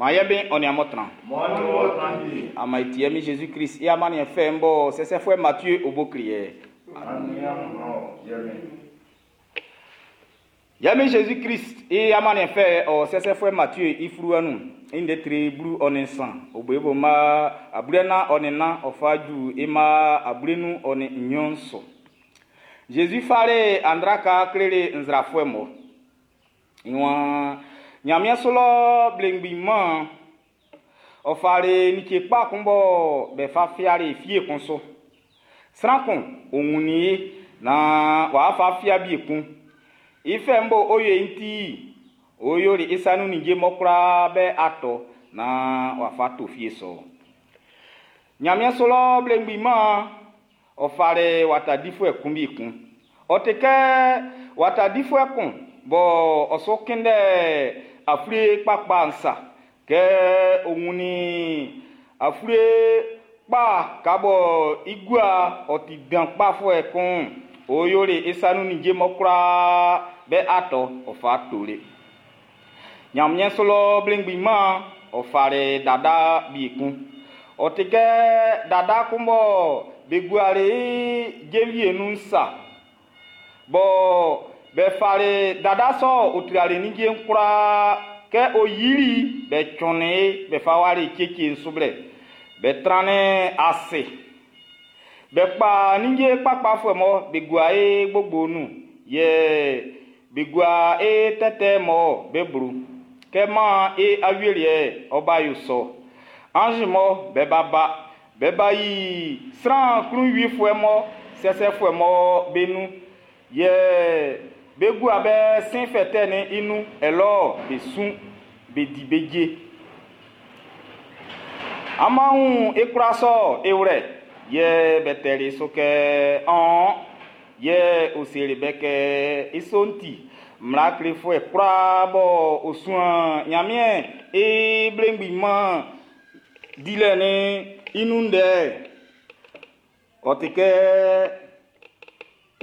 Maan ye Min ɔ nin amun tran. Ama e ti e Min Jésus Christ i amanniɛn fɛ'n bɔ sɛsɛfuɛ Matthieu o bo kle ye. Ye Min Jésus Christ i amanniɛn fɛ ɔ sɛsɛfuɛ Matthieu i fluwa nun, i ndɛ tre 13, o bo i bo mma 44 ɔ fa ju i mma 52 su. Jésus fali andraka kleli nzrafuɛ mɔ. I waan, Ɲanmiɛn su lɔ blengbi man ɔ fali like kpa kun bɔ be fa fiali fie kun su. Sran kun o wunnin i naan w'a fa fia bie kun. I fɛ'n bo o yo'n ti, o yoli i sa nun ninnge mɔ kwlaa be atɔ naan w'a fa to fie sɔ. Ɲanmiɛn su lɔ blengbi man ɔ fali wata difuɛ kun bi kun. Ɔ ti kɛ wata difuɛ kun bɔ ɔ su kunndɛ afue kpakpa'n sa. Kɛ ɔ wunnin afue kpa ka bɔ i gua ɔ ti dan kpafuɛ kun, ɔ yoli i sa nun ninnge mɔ kwlaa be atɔ ɔ fa toli. Ɲanmiɛn su lɔ blengbi man ɔ fali dada bi kun. Ɔ ti kɛ dada kun bɔ be guali i jenvie nun sa. Bɔ be fali dada sɔ o trali ninnge'n kwlaa kɛ ɔ yili be tsɔnnin be fa wali kyekye su blɛ. Be trannin ase. Be kpa ninnge kpakpafuɛ mɔ be gua e gbogbo nun, yɛ be gua e tɛtɛ mɔ be blu. Kɛ man e awieliɛ ɔba yo sɔ. Anzi mɔ be ba ba, be ba yi sran klunwifuɛ mɔ sɛsɛfuɛ mɔ be nun, yɛ be gua be sin fɛtɛ'n i nun, ɛlɔ be sun, be di be je. Amun e kwla sɔ e wlɛ, yɛ be tɛli su kɛ ɔn, yɛ o seli be kɛ i sɔ'n ti mmla klefuɛ kwlaa bɔ o suan Ɲanmiɛn i blengbi man dilɛ ni i nun ndɛ. Ɔ ti kɛ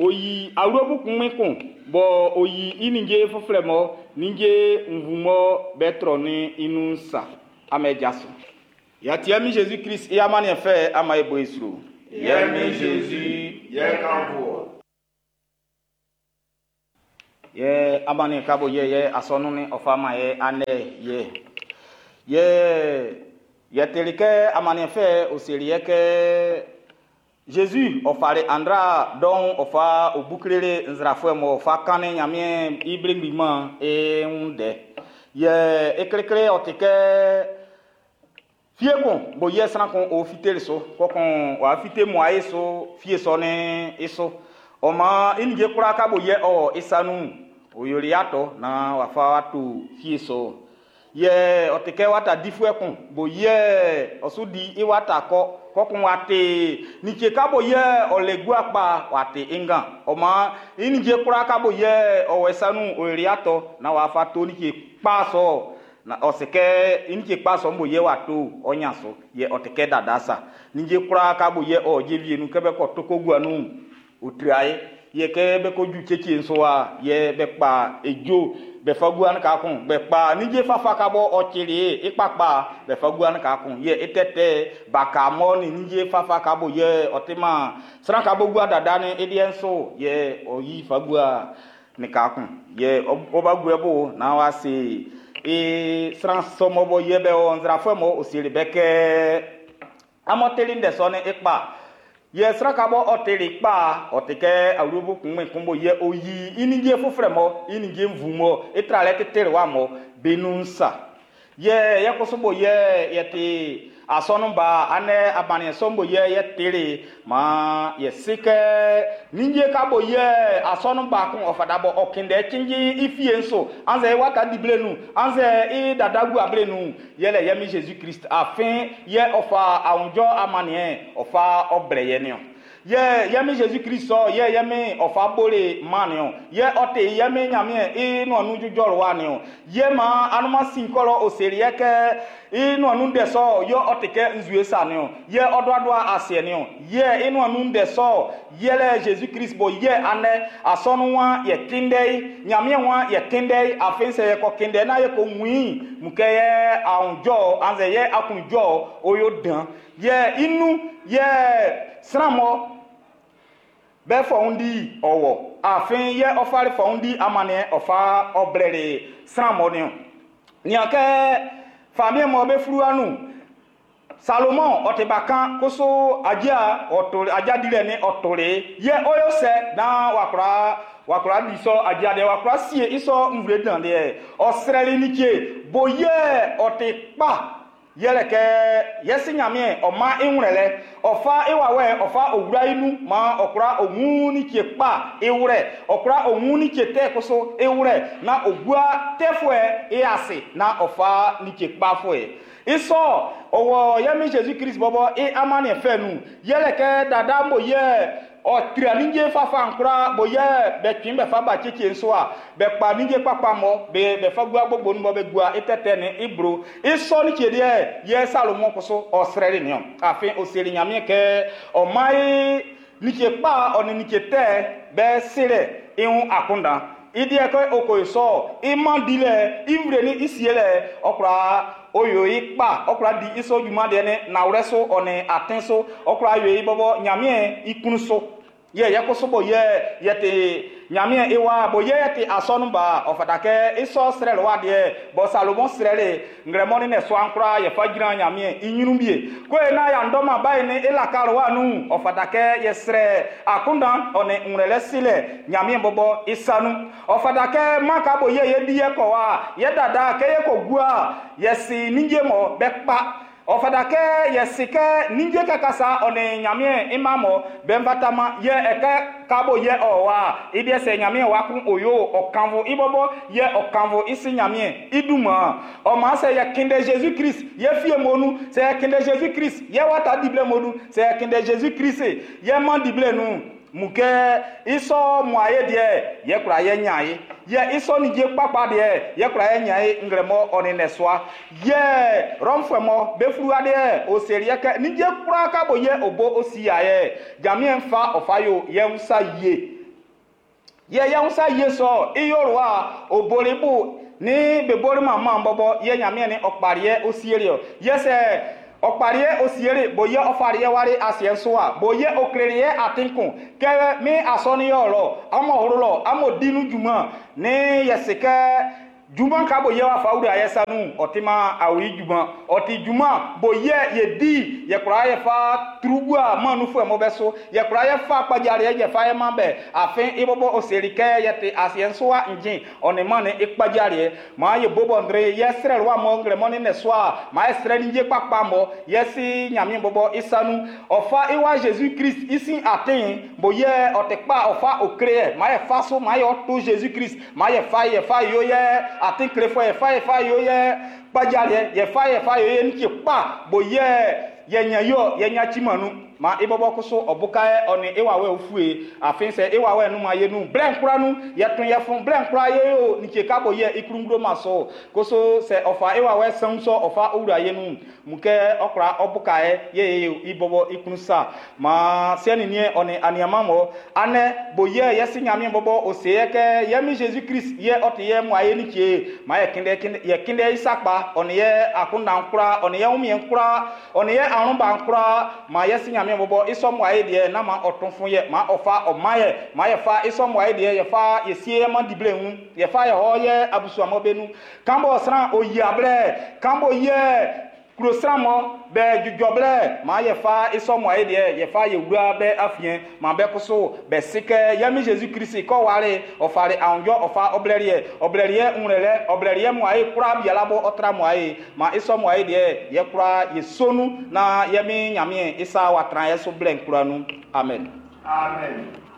o yi awlobo kun kun bɔ o yi i ninnge foforɔ mɔ ninnge nvu mɔ be trɔ ni i nun sa amɛ jaso. Yati mi Jésus Christ i amanniɛn fɛ ama e bo e sro. Ye Min Jésus, ye kan bo. Ye amanniɛn ka bo ye ye asɔnu ni ɔfa ma ye anɛ ye. Ye ye teli kɛ amanniɛn fɛ o seli ye kɛ Jésus ɔ fali andra dɔn ɔ fa o buklele nzrafuɛ mɔ ɔ fa kannin Ɲanmiɛn i blengbi man e wun dɛ. Ye e klekle ɔ ti kɛ fie kun bo yɛ sran kun o fiteli so kɔkɔn wa fite mu ayi so fie sɔ ne i so. Ɔ ma i ninnge kwlaa ka bo yɛ ɔ i sa nun o yoli atɔ na wa fa wa to fie sɔ. Yɛ ɔ ti kɛ wata difuɛ kun bo yɛ ɔ su di i wata kɔ kɔkɔn wa te nitse ka bo yɛ ɔ le gua kpa wa te i ngan. Ɔ ma i ninnge kwlaa ka bo yɛ ɔ wɔ i sa nun o yoli atɔ na wa fa to nitse kpa sɔ. Na ɔ se kɛ i nitse kpa sɔ bo yɛ wa to ɔ nya so yɛ ɔ ti kɛ dada sa. Ninnge kwlaa ka bo yɛ ɔ jenvie nun kɛ bɛ kɔ toko gua nun o tia ye. Yɛ kɛ bɛ ko ju kyekye nso a yɛ bɛ kpa edzo bɛ fa gua ne ka kun bɛ kpa ninnge fafa ka bɔ ɔ tsili ye i kpakpa bɛ fa gua ne ka kun yɛ etɛtɛ baka mɔ ni ninnge fafa ka bo yɛ ɔ ti ma sran ka bo gua dada ni ediɛ nso yɛ ɔ yi fa gua ne ka kun yɛ ɔba gua bo na wa se e sran sɔmɔ bɔ yɛ bɛ ɔ nzrafuɛ mɔ o seli bɛ kɛ amɔteli ndɛ sɔ ne ekpa. Yɛ sran ka bɔ ɔ teli kpa ɔ ti kɛ awlobo kun mɛ kun bo yɛ o yi i ninnge foforɔ mɔ i ninnge nvu mɔ i tralɛ tete wa mɔ be nun sa. Yɛ yɛ koso bo yɛ yɛ ti asɔnu ba anɛ abaniɛ sɔn bo yɛ yɛ teli ma yɛ si kɛ ninnge ka bo yɛ asɔnu ba kun ɔ fata bɔ ɔ kinde tsinji i fie nso anzɛ i wata di ble nu anzɛ i dada gu able nu yɛlɛ yɛ mi Jésus Christ afin yɛ ɔ fa awunjɔ amaniɛ ɔ fa ɔblɛ yɛ niɔ. Yɛ yɛ mi Jésus Christ sɔ yɛ yɛ mi ɔ fa bole ma niɔ. Yɛ ɔ te yɛ mi Ɲanmiɛn i nua nu dzudzɔ wa niɔ. Yɛ ma anuma sin kɔlɔ o seli yɛ kɛ I nuan nun ndɛ sɔ yɛ ɔ ti kɛ nzue sa niɔn, yɛ ɔ duadua asiɛ niɔn, yɛ i nuan nun ndɛ sɔ yɛlɛ Jésus Christ bɔ yɛ anɛ asɔnun wa yɛ kindɛ yi, Ɲanmiɛn wa yɛ kindɛ yi, afin sɛ yɛ kɔ kindɛ na yɛ ko win mu kɛ yɛ ahunjɔ annzɛ yɛ akunjɔ o yo dan, yɛ inu yɛ sran mɔ bɛ fɔundi ɔwɔ, afin yɛ ɔfali fɔundi amaniɛ ɔfa ɔblɛli sran mɔ niɔn. Nian kɛ famiɛn mɔ be fluwa nun Salomon ɔ ti bakan koso adia ɔtole adia dilɛ ni ɔtole yɛ ɔyɔ sɛ na wakura wakura di sɔ adia deɛ wakura sie isɔ nvle dan deɛ ɔsrɛli ni tse bo yɛ ɔti kpa yɛlɛ kɛ yɛsi Ɲanmiɛn ɔma iwlɛ lɛ ɔfa iwawɛ ɔfa owura inu ma ɔkura òun ni tse kpa iwlɛ ɔkura òun ni tse tɛ koso iwlɛ na ogua tɛfuɛ iyase na ɔfa ni tse kpa fuɛ isɔ ɔwɔ yɛmi Jésus Christ bɔbɔ i amani fɛ nu yɛlɛ kɛ dada mo yɛ ɔtria nidze fafa nkura bo yɛ bɛ tui bɛ fa ba tsetse nso a bɛ kpa nidze kpakpa mɔ bɛ bɛ fa gua gbogbo nu mɔ bɛ gua itɛtɛ ni ibro isɔ ni tse deɛ yɛ Salomon koso ɔsrɛli niɔ afin oseli Ɲanmiɛn kɛ ɔma ye nitse kpa ɔni nitse tɛ bɛ srɛ ihun akundan idiɛ kɛ oko sɔ ima di lɛ ivre ni isie lɛ ɔkura oyo yi kpa ɔkura di isɔ dwuma deɛ ne nawrɛ so ɔne aten so ɔkura ayo yi bɔbɔ Ɲanmiɛn ikunu so yɛ yɛ koso bo yɛ yɛte Ɲanmiɛn iwa bo yɛ yɛte asɔnu ba ɔfata kɛ isɔ srɛ wa deɛ bɔ Salomon srɛle ngrɛmɔni nɛ so ankora yɛfa gyina Ɲanmiɛn inyinu bie ko ye na yandɔma bayi ni elaka wa nu ɔfata kɛ yɛsrɛ akundan ɔne ŋrɛlɛ silɛ Ɲanmiɛn bɔbɔ isanu ɔfata kɛ maka bo yɛ yɛ di yɛ kɔ wa yɛ dada kɛ yɛ kɔ gua yɛsi nidze mɔ bɛ kpa ɔfata kɛ yɛsi kɛ nidze kakasa ɔne Ɲanmiɛn ima mɔ bɛnfatama yɛ ɛkɛ kabo yɛ ɔwa idiɛ sɛ Ɲanmiɛn wa kun oyo ɔkanfo ibɔbɔ yɛ ɔkanfo isi Ɲanmiɛn iduma ɔma sɛ yɛ kinde Jésus Christ yɛ fie monu sɛ yɛ kinde Jésus Christ yɛ wata dible monu sɛ yɛ kinde Jésus Christ yɛ man dible nu mu kɛ isɔ mu aye deɛ yɛ kura yɛ nya ye yɛ isɔ nidze kpakpa deɛ yɛ kura yɛ nya ye ngrɛmɔ ɔni nɛsua yɛ rɔmfuɛ mɔ befuru adeɛ oseri yɛ kɛ nidze kura kabo yɛ obo osi ya yɛ Ɲanmiɛn fa ɔfa yo yɛ wusa yie yɛ yɛ wusa yie sɔ iyɔrɔ oboribu ni bebori mama bɔbɔ yɛ Ɲanmiɛn ni ɔkpariɛ osieri yɛ sɛ ɔkpariɛ osiere bo yɛ ɔfariɛ wari asiɛ so a bo yɛ okleriɛ atinkun kɛ mi asɔni yɔ lɔ amɔ horo lɔ amɔ dinu juma ni yɛsi kɛ juma ka bo yɛ wa fa wuri ayɛ sanu ɔti ma awi juma ɔti juma bo yɛ yɛ di yɛ kura yɛ fa turugua manu fún ɛmɔ bɛ so yɛ kura yɛ fa kpadzari yɛ fa yɛ ma bɛ afin ibɔbɔ oseri kɛ yɛ ti asiɛ nso wa ŋdzi ɔni ma ni ikpadzari yɛ maa yɛ bobɔ ndre yɛ srɛ wa mɔ ŋlɛ mɔ ni nɛ soa maa yɛ srɛ ni dze kpakpa mɔ yɛ si Ɲanmiɛn bɔbɔ isanu ɔfa iwa Jésus Christ isi atin bo yɛ ɔtɛ kpa ɔfa okre yɛ maa yɛ fa so maa yɛ ɔto Jésus Christ maa yɛ fa yɛ fa yo yɛ atin kle fɔ yɛ fa yɛ fa yo yɛ kpadzari yɛ yɛ fa yɛ fa yo yɛ nitsi kpa bo yɛ yɛ nya yɔ yɛ nya tsi manu ma ibɔbɔ koso ɔbuka yɛ ɔni iwawɛ ofue afin sɛ iwawɛ nu ma ye nu blɛ nkura nu yɛ tun yɛ fun blɛ nkura ye yo nitsi kabo yɛ ikurungro ma so koso sɛ ɔfa iwawɛ sɛn sɔ ɔfa owura ye nu mu kɛ ɔkura ɔbuka yɛ ye ye ibɔbɔ ikunu sa ma sɛni nie ɔni aniama mɔ anɛ bo yɛ yɛsi Ɲanmiɛn bɔbɔ ose yɛ kɛ yɛmi Jésus Christ yɛ ɔti yɛ mu aye nitsi ma yɛ kinde kinde yɛ kinde isakpa ɔni yɛ akunda nkura ɔni yɛ wumie nkura ɔni yɛ arunba nkura ma yɛsi Ɲanmiɛn bɔbɔ isɔ mu aye deɛ na ma ɔtun fun yɛ ma ɔfa ɔma yɛ ma yɛ fa isɔ mu aye deɛ yɛ fa yɛ sie yɛ ma dible ŋu yɛ fa yɛ hɔ yɛ abusuamɔ bɛ nu kanbɔ sran oyi ablɛ kanbɔ yɛ kuro sran mɔ bɛ dzudzɔ ma yɛ fa isɔ mu aye deɛ yɛ fa yɛ wura bɛ afiɛ ma bɛ koso bɛ si kɛ yɛmi Jésus Christ kɔ wale ɔfari ahunjɔ ɔfa ɔblɛriɛ ɔblɛriɛ ŋlɛlɛ ɔblɛriɛ mu aye kura biala bɔ ɔtra mu aye ma isɔ mu aye deɛ yɛ kura yɛ sonu na yɛmi Ɲanmiɛn isa wa tran yɛ so blɛ nkura nu amen. Amen.